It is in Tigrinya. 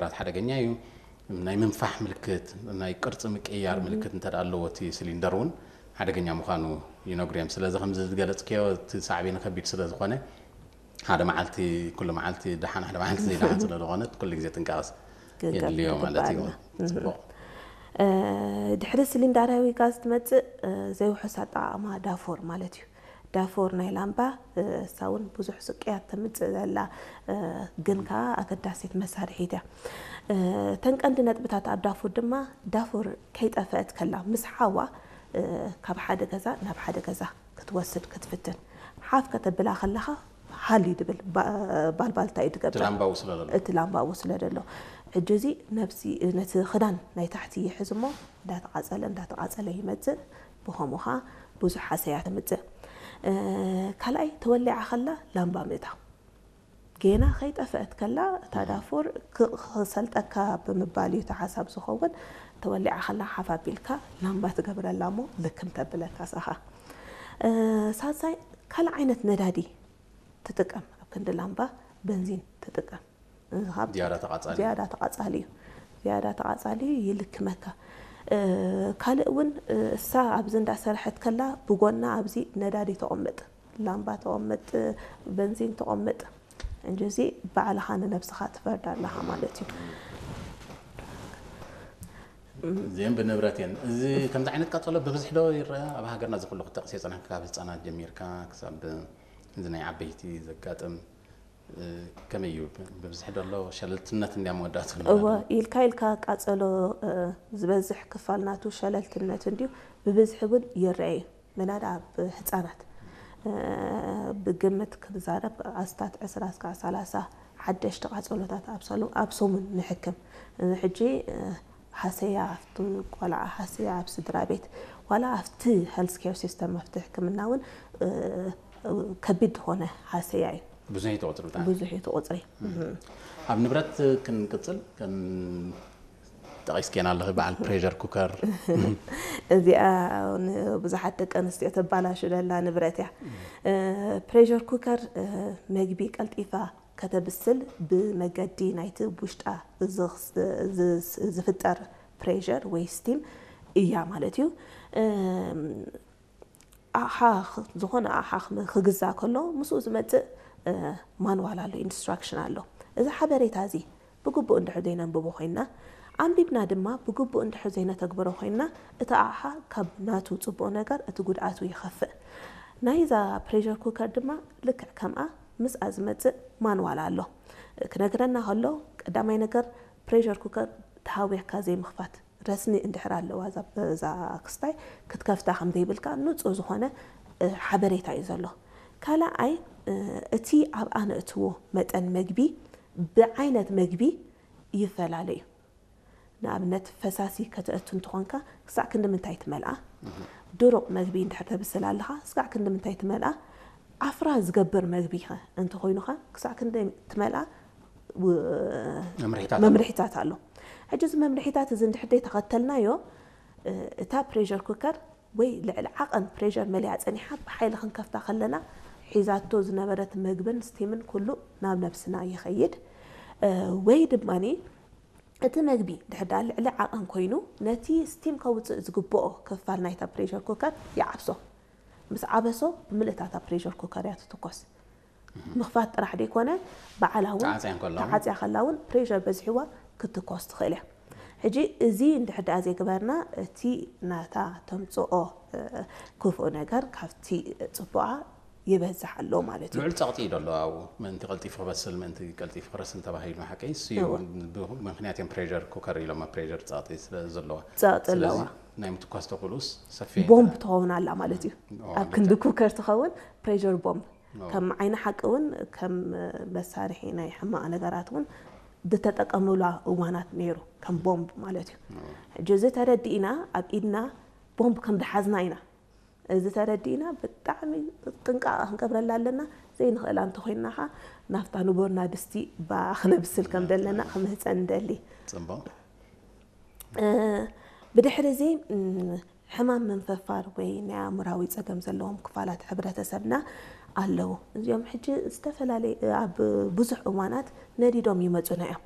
ራት ሓደገኛ እዩ። ናይ ምንፋሕ ምልክት፣ ናይ ቅርፂ ምቅያር ምልክት እንተ ደኣ ኣለዎ፣ እቲ ሲሊንደር እውን ሓደገኛ ምዃኑ ይነግሩ እዮም። ስለዚ ከምዚ ዝገለፅክዮ፣ እቲ ሳዕቤኑ ከቢድ ስለ ዝኾነ፣ ሓደ መዓልቲ፣ ኩሉ መዓልቲ ደሓን፣ ሓደ መዓልቲ ዘይደሓን ስለ ዝኾነ፣ ኩሉ ግዜ ጥንቃቐስ የድልዮ ማለት እዩ። ጽቡቕ። ድሕሪ ሲሊንዳራዊ ጋዝ ትመፅእ ዘይውሑስ ኣጠቓቕማ ዳፎር ማለት እዩ። ዳፎር ናይ ላምባ እሳ እውን ብዙሕ ስቅያት ተምፅእ ዘላ፣ ግን ከዓ ኣገዳሲት መሳርሒት እያ። እተን ቀንዲ ነጥብታት ኣብ ዳፎር ድማ፣ ዳፎር ከይጠፈአት ከላ ምስ ሓዋ ካብ ሓደ ገዛ ናብ ሓደ ገዛ ክትወስድ ክትፍትን፣ ሓፍ ከተብላ ከለኻ ሃልዩ ድብል፣ ባልባልታ እዩ ድገብር። እቲ ላምባኡ ስለ ዘሎ ሕጂ እዚ ነብሲ ነቲ ክዳን ናይ ታሕቲ ይሕዝ እሞ እንዳተቓጸለ እንዳተቓጸለ ይመጽእ። ብኸምኡ ኸዓ ብዙሕ ሃሰያ ተምጽእ። ካልኣይ፣ ተወሊዓ ከላ ላምባ ምእታው። ጌና ከይጠፈአት ከላ እታ ዳፎር ክሰልጠካ ብምባል እዩ እቲ ሓሳብ ዝኸውን። ተወሊዓ ከላ ሓፍ ኣቢልካ ላምባ ትገብረላ እሞ ልክም ተብለካ ሳኻ። ሳልሳይ፣ ካልእ ዓይነት ነዳዲ ትጥቀም። ኣብ ክንዲ ላምባ በንዚን ትጥቀም። ዝያዳ ተቓጻሊ እዩ። ዝያዳ ተቓጻሊ እዩ። ይልክመካ። ካልእ እውን እሳ ኣብዚ እንዳሰርሐት ከላ ብጎና ኣብዚ ነዳዲ ተቐምጥ፣ ላምባ ተቐምጥ፣ በንዚን ተቐምጥ። እንጂ እዚ ባዕልኻ ንነብስኻ ትፈርድ ኣለኻ ማለት እዩ። እዚአን ብንብረት እየን። እዚ ከምዚ ዓይነት ቃጸሎ ብብዝሒ ዶ ይረአ? ኣብ ሃገርና እዚ ኩሉ ክጠቕስ የጸናሕካ፣ ካብ ህጻናት ጀሚርካ ክሳብ እዚ ናይ ዓበይቲ ዘጋጥም ከመይ እዩ? ብብዝሒ ዶ ኣሎ? ሸለልትነት እንድያ መወዳእቱ። እወ፣ ኢልካ ኢልካ ቃጸሎ ዝበዝሕ ክፋል ናቱ ሸለልትነት እንድዩ። ብብዝሒ እውን ይረአ እዩ። ምናዳ ኣብ ህጻናት ብግምት ክንዛረብ ኣስታት ዕስራ እስካዕ ሰላሳ ሓደሽቲ ቃጸሎታት ኣብ ሰሙን ንሕክም። እዚ ሕጂ ሃሰያ ኣብቲ ቆልዓ፣ ሃሰያ ኣብ ስድራ ቤት፣ ዋላ ኣብቲ ሄልዝ ኬር ሲስተም፣ ኣብቲ ሕክምና እውን ከቢድ ዝኾነ ሃሰያ እዩ። ብዙሕ እዩ እቲ ቁፅሪ። ብዙሕ እዩ እቲ ቁፅሪ። ኣብ ንብረት ክንቅፅል፣ ጠቒስክየን ኣለኺ፣ በዓል ፕሬሸር ኩከር። እዚኣ ንብዙሓት ደቂ ኣንስትዮ ተባላሹ ዘላ ንብረት እያ። ፕሬሸር ኩከር መግቢ ቀልጢፋ ከተብስል ብመገዲ ናይቲ ውሽጣ ዝፍጠር ፕሬሸር ወይ ስቲም እያ ማለት እዩ። ኣቕሓ ዝኾነ ኣቕሓ ክግዛእ ከሎ ምስኡ ዝመፅእ ማንዋል ኣሎ፣ ኢንስትራክሽን ኣሎ። እዚ ሓበሬታ እዚ ብግቡእ እንድሕር ዘይነንብቦ ኮይንና፣ ኣንቢብና ድማ ብግቡእ እንድሕር ዘይነተግብሮ ኮይንና፣ እቲ ኣቕሓ ካብ ናቱ ፅቡቕ ነገር እቲ ጉድኣቱ ይኸፍእ። ናይዛ ፕሬሸር ኩከር ድማ ልክዕ ከምኣ ምስኣ ዝመፅእ ማንዋል ኣሎ። ክነግረና ከሎ፣ ቀዳማይ ነገር ፕሬሸር ኩከር ተሃዊኽካ ዘይምኽፋት። ረስኒ እንድሕር ኣለዋ እዛ ክስታይ ክትከፍታ ከም ዘይብልካ ንጹር ዝኾነ ሓበሬታ እዩ ዘሎ። ካልኣይ፣ እቲ ኣብኣ ነእትዎ መጠን መግቢ ብዓይነት መግቢ ይፈላለ እዩ። ንኣብነት ፈሳሲ ከተእቱ እንተኾንካ ክሳዕ ክንዲ ምንታይ ትመልኣ፣ ድሩቕ መግቢ እንድሕር ተብስል ኣለኻ ክሳዕ ክንዲ ምንታይ ትመልኣ፣ ዓፍራ ዝገብር መግቢ ኸ እንተኾይኑኻ ክሳዕ ክንዲ ትመልኣ መምርሒታት ኣሎ። ሕጂ እዚ መምርሒታት እዚ እንድሕር ደይ ተኸተልናዮ እታ ፕሬሸር ኩከር ወይ ልዕሊ ዓቐን ፕሬሸር መሊኣ ጸኒሓ ብሓይሊ ክንከፍታ ከለና ሒዛቶ ዝነበረት መግብን ስቲምን ኩሉ ናብ ነብስና ይኸይድ። ወይ ድማ እቲ መግቢ ድሕር ደኣ ልዕሊ ዓቐን ኮይኑ ነቲ ስቲም ከውፅእ ዝግብኦ ክፋል ናይታ ፕሬሸር ኩከር ይዓብሶ። ምስ ዓበሶ ብምልእታታ ፕሬሸር ኩከር እያ ትትኮስ። ምኽፋት ጥራሕ ደይኮነ ባዕላ እውን ተዓፅያ ከላ እውን ፕሬሸር በዚሕዋ ክትኮስ ትኽእል እያ። ሕጂ እዚ እንድሕር ደኣ ዘይገበርና እቲ ናታ ተምፅኦ ክፉእ ነገር ካብቲ ፅቡቓ ይበዝሕ ኣሎ ማለት እዩ። ልዑል ፀቕጢ እዩ ዘሎ ኣብኡ ምእንቲ ቀልጢፉ ክበስል ምእንቲ ቀልጢፉ ክረስን ተባሂሉ ሓቀይ እሱ እዩ። ብምክንያት እዮም ፕሬሸር ኩከር ኢሎማ ፕሬሸር ፀቕጢ ስለ ዘለዋ። ፀቕጢ ኣለዋ። ናይ ምትኳስ ተኽእሎኡስ ሰፊሕ እዩ። ቦምብ ትኸውን ኣላ ማለት እዩ። ኣብ ክንዲ ኩከር ትኸውን ፕሬሸር ቦምብ። ከም ዓይኒ ሓቂ እውን ከም መሳርሒ ናይ ሕማቕ ነገራት እውን ዝተጠቀምሉ እዋናት ነይሩ ከም ቦምብ ማለት እዩ። ሕጂ እዚ ተረዲእና ኣብ ኢድና ቦምብ ከም ዝሓዝና ኢና። እዚ ተረዲእና ብጣዕሚ ጥንቃቐ ክንገብረላ ኣለና። ዘይንኽእላ እንተኾይንና ኸዓ ናብታ ንቦርና ድስቲ ብኣ ክነብስል ከም ዘለና ክምህፀን ንደሊ። ፅቡቕ። ብድሕሪ እዚ ሕማም ምንፍፋር ወይ ናይ ኣእምራዊ ፀገም ዘለዎም ክፋላት ሕብረተሰብና ኣለዉ። እዚኦም ሕጂ ዝተፈላለየ ኣብ ብዙሕ እዋናት ነዲዶም ይመፁና እዮም።